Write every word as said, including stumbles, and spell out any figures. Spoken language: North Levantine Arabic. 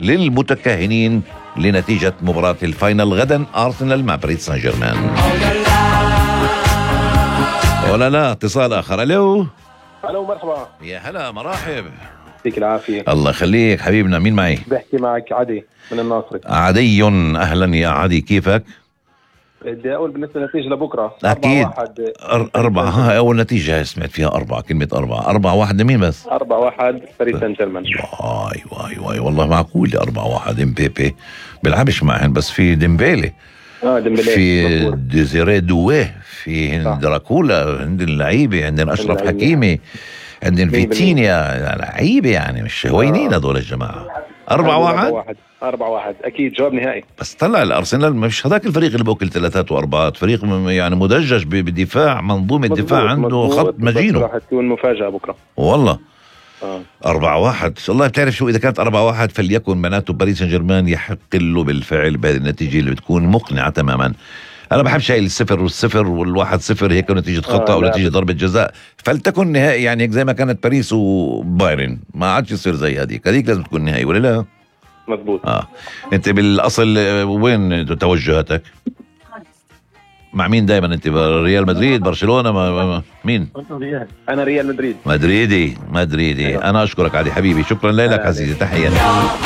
للمتكهنين لنتيجة مباراة الفاينل غدا أرسنال مع باريس سان جيرمان. ولا لا اتصال آخر. ألو ألو مرحبا. يا هلا مرحب. يعطيك العافية. الله يخليك حبيبنا. مين معي؟ بحكي معك عدي من الناصري. عدي أهلا يا عدي، كيفك؟ بدي أقول بالنسبة للنتيجة لبكرة أكيد أربعة واحد. أربعة. ها أول نتيجة سمعت فيها أربعة، كلمة أربعة. أربعة واحد لمين بس؟ أربعة واحد باريس سان جيرمان. واي واي واي والله معقول أربعة واحد. امبيبي بيلعبش معهن بس في ديمبيلي اه ديمبلي في ديزيري دويه في هند دراكولا، عندنا اللعيبة، عندنا أشرف حكيمي، عندنا فيتينيا، لعيبة يعني مش هوينين هذول الجماعة. أربعة واحد أربعة واحد أكيد جواب نهائي. بس طلع الأرسنال مش هذاك الفريق اللي بوكل ثلاثات وأربعات، فريق يعني مدجج بدفاع، منظومة دفاع عنده خط مجينه. راح تكون مفاجأة بكرة والله. آه. أربعة واحد والله. بتعرف شو، إذا كانت أربعة واحد فليكن معناته باريس سان جيرمان يحق له بالفعل بهذه النتيجة اللي بتكون مقنعة تماما. أنا بحب شيء الصفر والصفر والواحد صفر هيك نتيجة خطأ أو نتيجة ضربة جزاء، فلتكن نهائي يعني هيك زي ما كانت باريس وبايرن، ما عادش يصير زي هذيك. هذيك لازم تكون نهائي ولا لا؟ مضبوط. آه. أنت بالأصل وين توجهاتك؟ مع مين دائما أنت؟ ريال مدريد، برشلونة، ما ما مين؟ أنا ريال مدريد. مدريدي مدريدي. أنا أشكرك علي حبيبي، شكرا لك عزيزي، تحياتي.